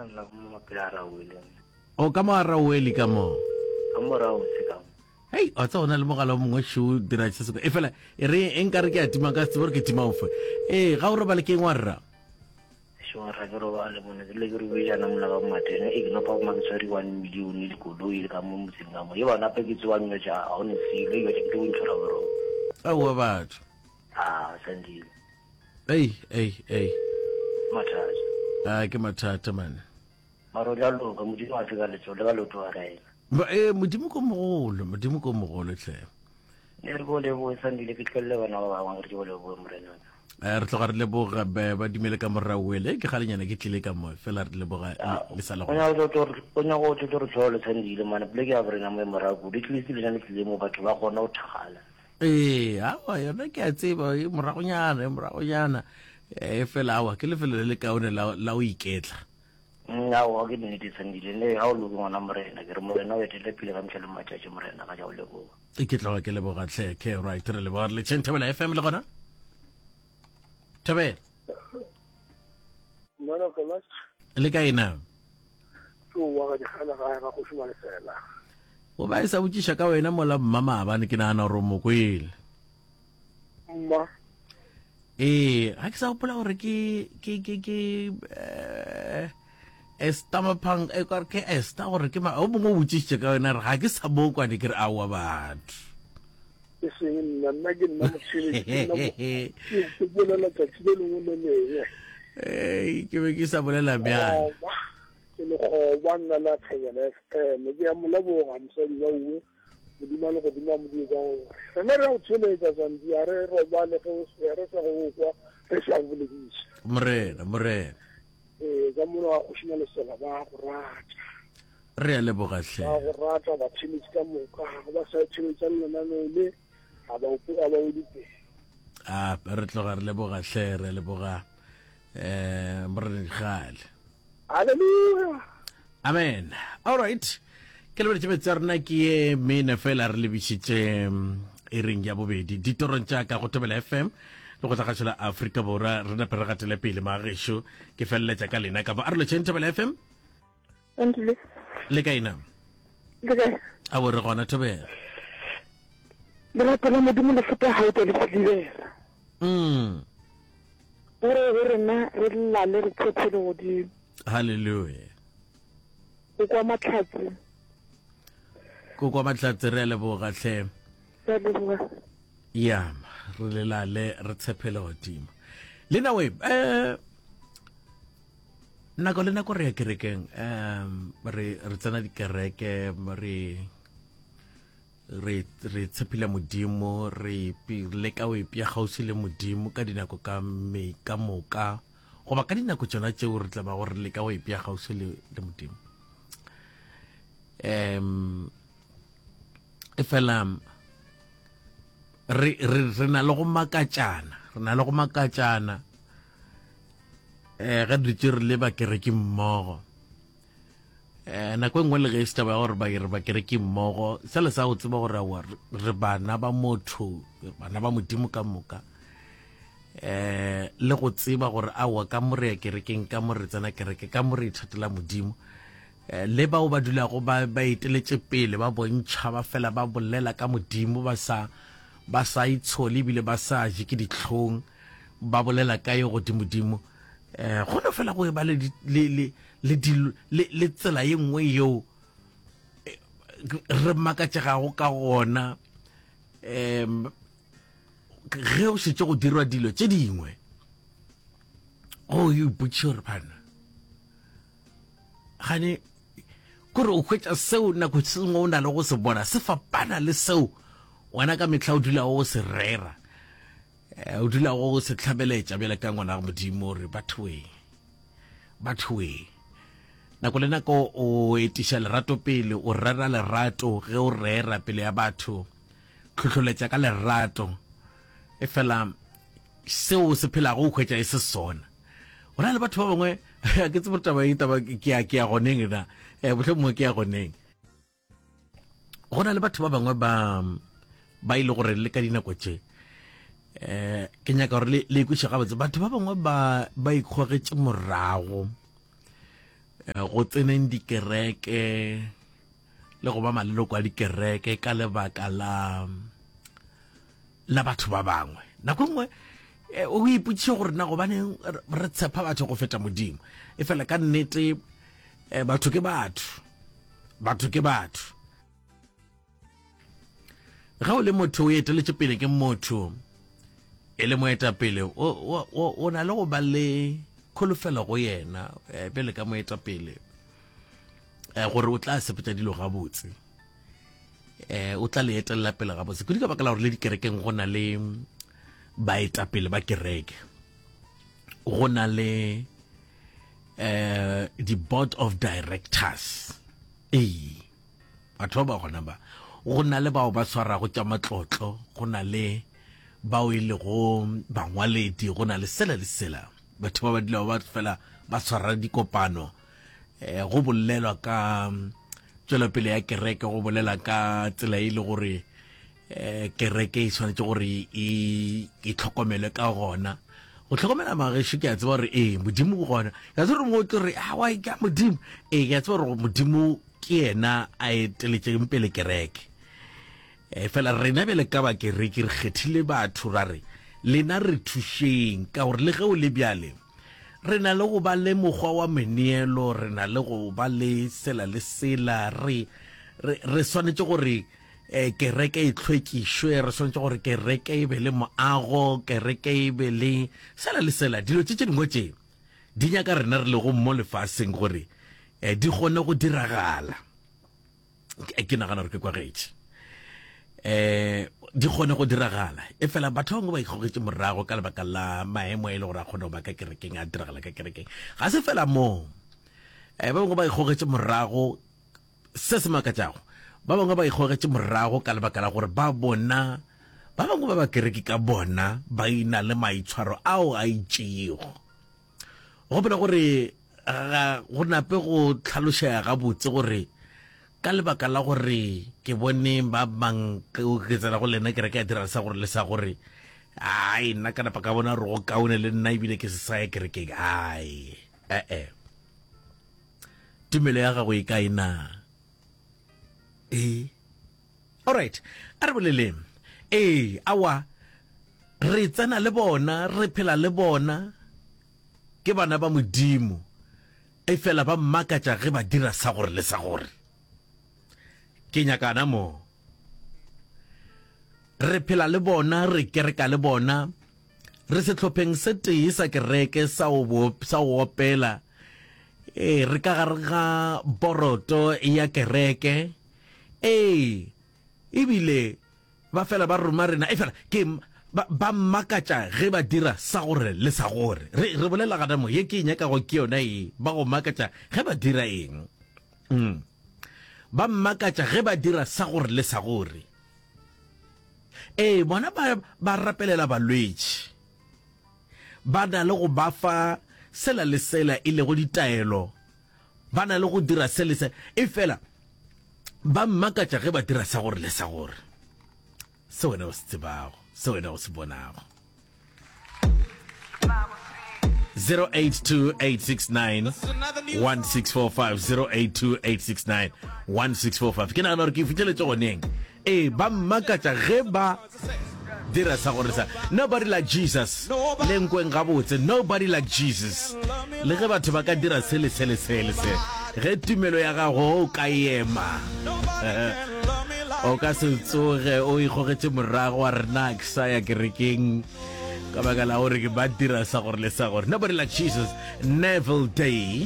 Nna mo mapela a raoele. O ka mo a raoele ka mo. Ka mo raose ka mo. Hei, wa tseba o na le mogala o mongwe šo dira se sengwe. E fela e re e nkare ke a tima ka se tsebe gore ke tima ofe. Ee, ga o robale ke eng wa rra? Šo rra ke robale mone ke le ke rubejana mola ka matene e ke nopa ma ke tshwere 1 million le koloi le ka mo motseng ka mo. Ye bana pe ke tsewa nyo ja ga o ne selo e ke tlo ntshwara boroko. Aowa batho. Ah, Sandile. Ei, ei, ei. Mathata. Ah, ke mathata man. Mara o tla loka, Modimo a feka letsogo le ka leoto wa kaena. Ba eh Modimo ko mogolo, Modimo ko mogolo hle. Ne re go leboge Sandile ke tlwelele bana ba bangwe re ke go leboge morena. Eh re tloga re leboga ba ba dumele ka morago ele ke galenyana ke tlile ka mo fela re leboga le sa le go. O nyaka go o nyaka go tlo re tlhole Sandile mane pleke ya borena mo e morago kudu at least le le tlile mo batho ba kgona go thagala. Ee, awa yona ke a tseba e moragonyana e moragonyana e fela awa ke lefelo le le kaone la la go iketla. Mm, aowa ke nnete Sandile ne ga o loke ngwana morena ke re morena o etele pele ka mehla le matšatši morena ga ja o leboga. E ke tloga ke leboga tlhe ke right re leboga re le tšheng Thobela FM le gona Thobela Mwana Thomas. Le kae na? Ke wa ga dikgana gae ga kgoši Malefela. O ba e sa botšiša ka wena mola mma maabane ke nagana gore o mo kwele. Mma. Ee, ga ke sa gopola gore ke ke ke ke eh Esther Maphang e ka ke Esther gore ke ma o mongwe o botšišitše ka wena re ga ke sa mo kwane ke re aowa batho. E seng nna, nna ke nna motheeletši, ke nna mo- ke ke bolela tsatsi le lengwe le lengwe. Ei, ke be ke sa bolela bjang. Lekgoba, ke lekgoba nna la Thobela FM. Ke a mo leboga mosadi wa uwe, Modimo a legodimo a mo die ka gore rena re a go theeletša Zandi, a re robale ge o se re sa go o kwa re sa go bolediša. Morena, morena. Ee, ka mono ga kgoši Malesela ba go rata. Re a leboga hle. Ba go rata batheeletši ka moka, ga ba sa theeletša lenaneo le ga ba ga ba wele pele. A re tloga re leboga hle, re a leboga eh morena Dikgale. Hallelujah. Amen. All right. Ke lebeletše metse ya rena ke ye mene fela re lebišitše mm, iring ya bobedi ditorong tša ka go Thobela FM le go tla la Afrika Borwa re nape re gatele pele magešo ke feleletša ka lena kapa a re lotšheng Thobela FM Andile. Le kae na? Le kae? A bo re gona Thobela. Lerato la Modimo le feta gae le silibera. Mm. O re go rena re lale re tshephele godimo. Hallelujah. O kwa mahlatse. Ko kwa mahlatse re a leboga hle. Re a leboga. Ya, re lelale re tshephele godimo. Le na we eh nako le nako re ya kerekeng um re re tsena dikereke re re re tshepile modimo re leka o ipea kgauswi le modimo ka dinako ka me ka moka goba ka dinako tšona tšeo re tla bago re leka go ipea kgauswi le, le modimo um e fela re, re, re na le go makatšana re na le go makatšana um ge dutše re le bakereki mmogo um nako e nngwe le ge e se taba ya gore ba re bakereki mmogo sele sa go tseba gore aowa re bana ba motho bana ba modimo ka moka um le go tseba gore aowa ka mo re ya kerekeng ka mo re tsena kereke ka mo re ithatela modimo um le bao ba dulago ba ba eteletše pele ba bontšha ba fela ba bolela ka modimo ba sa ba sa itshole ebile ba sa je ke dihlong ba bolela ka yo godimodimo um go no fela go e ba le le le le le tsela ye nngwe yeo eh, re makatšegago ka gona um ge o šetše go dirwa dilo tše dingwe go o ipotšiše gore bana gane kore o hwetša seo nako sengwe o na le go se bona se fapana le seo wena ka mehla o dulago go se rera eh, o dulago go se hlabeletša bjale ka ngwana ga modimo gore bathoeng bathoeng nako le nako o etiša lerato pele o rera lerato ge o rera pele ya batho tlhohloletša ka lerato e fela seo se phelago o hwetša e se sona go na le batho ba bangwe ke tsebo taba e taba ke ya ke ya goneng na eh mohlomongwe ke ya goneng go na le batho ba bangwe ba ba ile gore le ka dinako tše eh ke nyaka gore le le ikweše gabotse batho ba bangwe ba ba ikgogetše morago. eh, go tseneng dikereke le go ba maleloko a dikereke ka lebaka la la batho ba bangwe. Nako e nngwe eh, o ipotšiše gore na gobaneng re tshepa batho go feta Modimo. E fela ka nnete eh, batho ke batho, batho ke batho. Ge o le motho o eteletše pele ke motho e le moetapele o na le go ba le kholofelo go yena eh, bjale ka moetapele eh, gore o tla sepetša dilo gabotse eh, o tla le etelela pele gabotse kudu ka baka la gore le dikerekeng go na le baetapele ba kereke go na le eh di-board of directors ee Batho ba ba gona ba, go na le bao ba swarago tša matlotlo, go na le bao e lego bangwaledi, go na le sela le sela. Batho ba ba dulago ba fela ba swara dikopano, eh, go bolelwa ka tšwelopele ya kereke, go bolela ka tsela e le gore eh, kereke e swanetše gore e, e tlhokomelwe ka gona. Go tlhokomela magešo ke a tseba gore ee modimo o gona. Ke a tseba gore mo tlo re awa ke a modimo. Ee ke a tseba gore modimo ke yena a eteletšeng pele kereke. E, fela rena bjale ka ba kereke re kgethile batho ra re lena re thušeng ka gore le ge o le bjale re na le go ba le mokgwa wa meneelo, re na le go ba le sela le sela, re, re, re swanetše gore eh, kereke e hlwekišwe, re swanetše gore kereke e be le moago, kereke e be le sela le sela. Dilo tše tše dingwe tše di nyaka rena re lego mo lefaseng gore eh, di kgone go diragala. Ke nagana gore ke kwagetše. Eh, di kgone go diragala. E fela batho ba bangwe ba ikgogetše morago ka lebaka la maemo e le gore a kgone go ba ka kerekeng, a diragala ka kerekeng. Ga se fela moo. Eh, ba bangwe ba ikgogetše morago Se se makatšago, ba bangwe ba ikgogetše morago ka lebaka la gore ba bona ba bangwe ba bakereki ka bona ba e-na le maitshwaro ao a itšego. Gopola gore ga go nape go hlalošega gabotse gore ka lebaka la gore ke bone ba bang ke tsena go lena kereke ya dira sa gore le sa gore ai nna ka napa ka bona gore go kaone le nna ebile ke se sa ya kerekeng ai ee Tumelo ya gago e kae na? Ee. Alright, a re boleleng. Ee, awa, re tsena le bona, re phela le bona, ke bana ba Modimo, efela ba mmakatša ge ba dira sa gore le sa gore. Ke nyakana mo. Re phela le bona, re kereka le bona, re sehlopheng se tee sa kereke sa go, sa go opela. Ee, re ka gare ga boroto ya kereke. Ee, ebile ba fela ba roma rena. Efela ke ba, ba mmakatša ge ba dira sa gore le sa gore. Re, re bolela gana mo, ye ke e nyakago ke yona ye. Ba go makatša ge ba dira eng? Mm. Ba mmakatša ge ba dira sa gore le sa gore. Ee, bona ba, ba rapelela balwetši. Ba na le go ba fa sela le sela e lego ditaelo. Ba na le go dira se le se. Efela, ba mmakatša ge ba dira sa gore le sa gore. Se wena o se tsebago, se wena o se bonago. 0828691645 0828691645 ke nagana gore ke fitlheletse goneng ee ba mmakatša ge ba dira sa gore sa nobody like jesus le nkweng gabotse nobody like jesus le ge batho ba ka dira se le se le se le se ge tumelo ya gago o ka ema o ka se tsoge o ikgogetše morago wa rena ke sa ya kerekeng ka baka la gore ke ba dira sa gore le sa gore nobody like jesus neville day.